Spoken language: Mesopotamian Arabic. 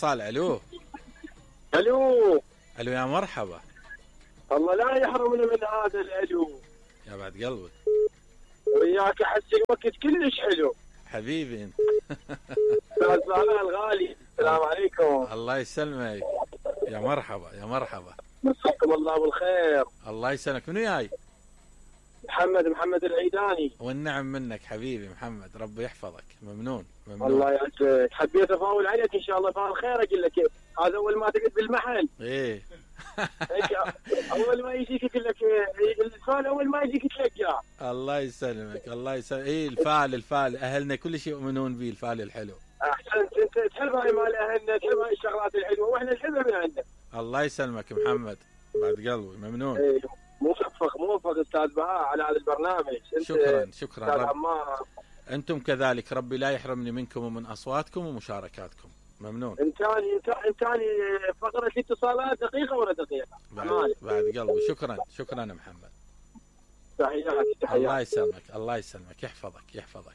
اتصال. الو الو الو يا مرحبا. الله لا يحرمنا من هذا الالو. يا بعد قلبك وياك احس الوقت كلش حلو حبيبي انت. استاذ طلال الغالي، السلام عليكم. الله يسلمك. يا مرحبا يا مرحبا. مساكم الله بالخير. الله يسلمك. منو جاي؟ محمد العيداني. والنعم منك حبيبي محمد، ربي يحفظك. ممنون ممنون. الله يعزك. حبيت افاول عليك ان شاء الله فعل خير. اقول لك هذا اول ما تقعد بالمحل ايه هيك اول ما يجيك يقول لك الفال، اول ما يجيك تلقاه. الله يسلمك الله يسلمك. ايه الفال اهلنا كل شيء يؤمنون به، الفال الحلو. احسنت. انت تحب هاي مال اهلنا، تحب هاي الشغلات الحلوه واحنا نحبها من عندك. الله يسلمك محمد، بعد قلبي ممنون. ايه موفق استاذ بهاء على هذا البرنامج. شكرا استاذ عمار. انتم كذلك، ربي لا يحرمني منكم ومن اصواتكم ومشاركاتكم. ممنون. انتاني فقره الاتصالات دقيقه ولا دقيقه؟ بعد قلبي. شكرا محمد. تحياتي. الله يسلمك الله يسلمك، يحفظك.